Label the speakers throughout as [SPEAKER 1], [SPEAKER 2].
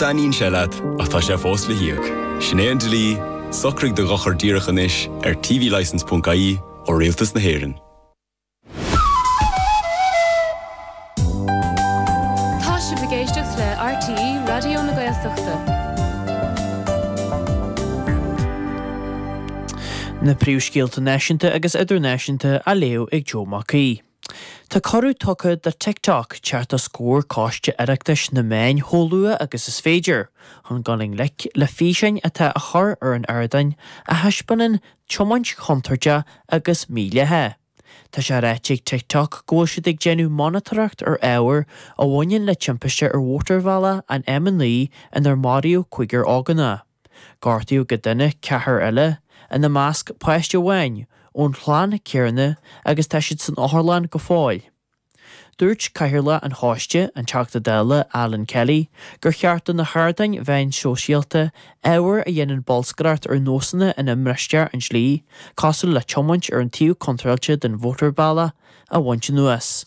[SPEAKER 1] dtaitníonn sé leat, ach tá sé fós le híoc. Sin é an dlí, socraigh do dhochar díreach anois ar tvlicence.ie ó Rialtas na hÉireann.
[SPEAKER 2] Tá sibh ag éisteacht le RTÉ Raidió na Gaeltachta.
[SPEAKER 3] Na príomhscéalta náisiúnta agus idirnáisiúnta á léamh ag Joe Mac Aoidh. Tá cuireadh tugtha do TikTok teacht os comhair Coiste Oireachtais na Meán chomh luath agus is féidir chun dul i ngleic le físeáin atá á chur ar an ardán a thaispeánann tiomáint chontúirteach agus mídhleathach. Tá sé ráite ag TikTok go bhfuil siad ag déanamh monatóireacht ar ábhar a bhaineann le timpiste ar mhótarbhealach an M9 inar maraíodh cúigear ógánach. Gortaíodh go dona ceathrar eile, ina measc páiste amháin, ón chlann chéanna agus tá siad san otharlann go fóill. Dúirt Cathaoirleach an Choiste, an Teachta Dála Alan Kelly, gur cheart do na hardáin mheáin shóisialta ábhar a dhéanann bolscaireacht ar nósanna ina mbristear an dlí, cosúil le tiomáint ar an taobh contráilte den mhótarbhealach, a bhaint anuas.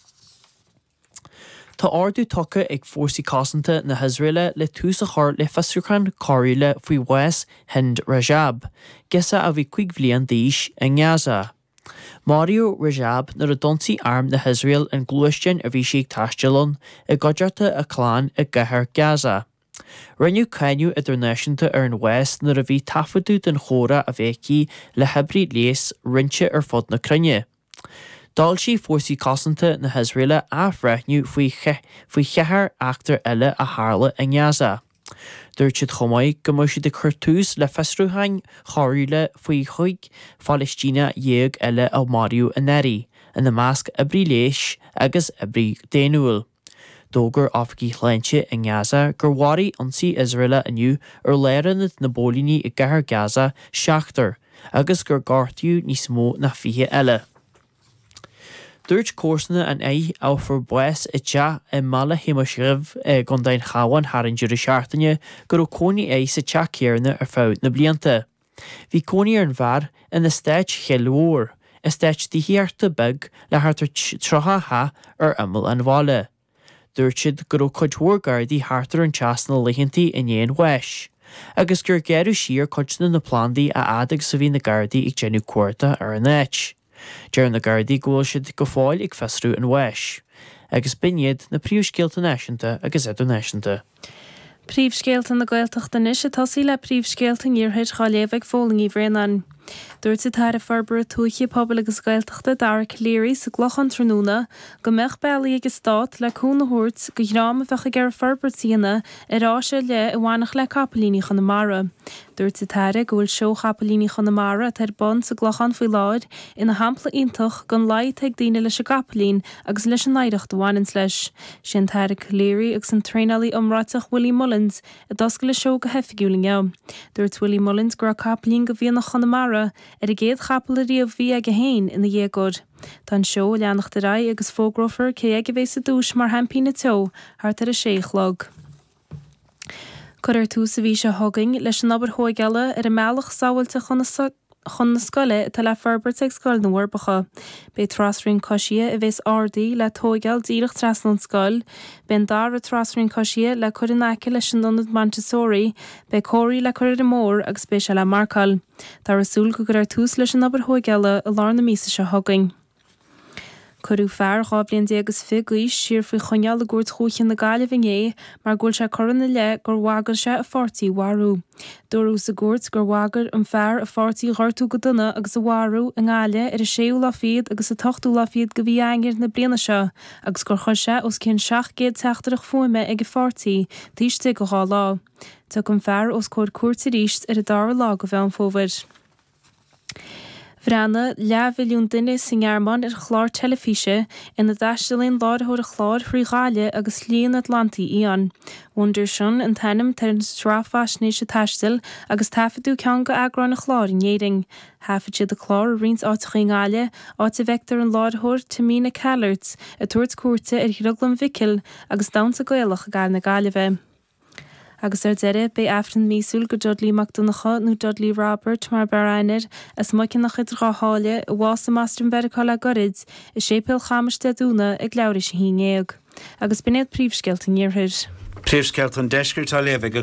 [SPEAKER 3] Tá ordú tugtha ag Fórsaí Cosanta na hIosraeile le tús a chur le fiosrúchán coiriúla faoi bhás Hind Rajab, girseach a bhí 5 bhliain d'aois, i nGaza. Maraíodh Rajab nuair a d'ionsaigh arm na hIosraeile an gluaisteán a bhí sí ag taisteal ann i gcuideachta a clann i gcathair Gaza. Rinneadh cáineadh idirnáisiúnta ar an bhás nuair a bhí taifeadadh den chomhrá a bhí aici le hoibrí leighis roinnte ar fud na cruinne. D'fhoilsigh Fórsaí Cosanta na hIosraeile athbhreithniú faoi faoi cheathair eachtra eile a tharla i nGaza. Dúirt siad chomh maith go mbeadh siad ag cur tús le fiosrúcháin choiriúla faoi chúig Phalaistíneach dhéag eile a maraíodh anuraidh, ina measc oibrí leighis agus oibrí daonnúil. D'fhógair oifigigh shláinte i nGaza gur mharaigh ionsaí Iosraelach inniu ar lárionad na bpóilíní i gcathair Gaza seachtar agus gur gortaíodh níos mó ná 20 eile. Dúirt comharsana an fhir a fuair bás i dteach i mBaile Shéamais Dhuibh i gContae an Chabháin thar an deireadh seachtaine go raibh cónaí air sa teach céanna ar feadh na blianta. Bhí cónaí ar an bhfear in eastát Chill Mhór, eastát tithíochta beag le thart ar 30 teach ar imeall an bhaile. Dúirt siad go raibh cuid mhór Gardaí thart ar an teach sna laethanta i ndiaidh an bháis, agus gur gearradh siar cuid de na plandaí a fhad agus a bhí na Gardaí ag déanamh cuardach ar an áit. Deir na Gardaí go bhfuil siad go fóill ag fiosrú an bháis. Agus b'in iad na príomhscéalta náisiúnta agus idirnáisiúnta.
[SPEAKER 2] Príomhscéalta na Gaeltachta anois ag tosaí le príomhscéalta an Iarthair dhá léamh ag Fódhla Ní Bhraonáin. Dúirt an tAire Forbartha Tuaithe, Pobail agus Gaeltachta, Dara Calleary sa gClochán tráthnóna go mbeadh bealaí ag an Stát le cúnamh a thabhairt do dhream a bheadh ag iarraidh forbairt a dhéanamh ar áis ar leith a bhainfeadh le Capaillíní Chonamara. Dúirt an tAire go bhfuil Seó Chapaillíní Chonamara atá ar bun sa gClochán faoi láthair ina shampla iontach den luí atá ag daoine leis an gcapaillín agus leis an oidhreacht a bhaineanns leis. Sé an tAire Calleary agus an traenálaí iomráiteach Willie Mullins a d'oscail an seó go hoifigiúil inniu. Dúirt Willie Mullins go raibh capaillín de mhianach Chonamara ar an gcéad chapall ariamh a bhí aige féin ina dhéagóir. Tá an seó ag leanacht ar aghaidh agus fógrófar cé aige a bheas sa duais mar sheaimpín an tseó thart ar a sé a chlog. Cuirfear tús an mhí seo chugainn leis an obair thóigeála ar an mbealach sábháilte chun chun na scoile atá le forbairt ag Scoil na bhForbacha. Beidh trasrian coisithe a bheas ardaithe le tóigeáil díreach trasna ón scoil. Beidh an dara trasrian coisithe le cur in aice leis an ionad Montessori, beidh comharthaí le cur ar an mbóthar agus beidh sé le marcáil. Táthar ag súil go gcuirfear tús leis an obair thóigeála i lár na míosa seo chugainn. Cuireadh fear 12 bhliain is fiche d'aois siar faoi choinneáil i gCúirt Dhúiche na Gaillimhe inné mar go bhfuil sé curtha ina leith gur bhagair sé a pháirtí a mharú. Dúradh sa gcúirt gur bhagair an fear a pháirtí a ghortú go dona agus a mharú i nGaillimh ar an séú lá fichead agus an t-ochtú lá fichead de mhí Eanáir na bliana seo agus gur chuir sé os cionn 700 teachtaireacht fuaime ag a pháirtí taobh istigh de dhá lá. Tiocfaidh an fear os comhair cúirte arís ar an dara lá de Mheán Fómhair. Bhreathnaigh leathmhilliún duine sa nGearmáin ar chlár teilifíse ina dtaistealaíonn láithreoir an chláir thrí Ghaillimh agus Slí an Atlantaigh Fhiáin. Wunderschön an t-ainm atá ar an tsraith faisnéise taistil agus taifeadadh ceann d'eagráin an chláir in Éirinn. Thaifead siad an clár i roinnt áiteacha i nGaillimh, áit a bhfeictear an láithreoir Tamina Kallert ag tabhairt cuairte ar Dhrioglann Mhicil agus damhsa Gaelach i gCathair na Gaillimhe. Agus ar deireadh, beidh Aifreann míosúil do Dudley Mac Donncha, nó Dudley Robert mar b'fhearr aithne air, as Muiceanach idir Dhá Sháile, a bhásaigh i mBoston Mheiriceá le goirid, i Séipéal Chamais Dé Domhnaigh ag leathuair tar éis a haon dhéag. Agus b'in iad príomhscéalta an Iarthair.
[SPEAKER 4] Príomhscéalta an Deiscirt á léamh ag.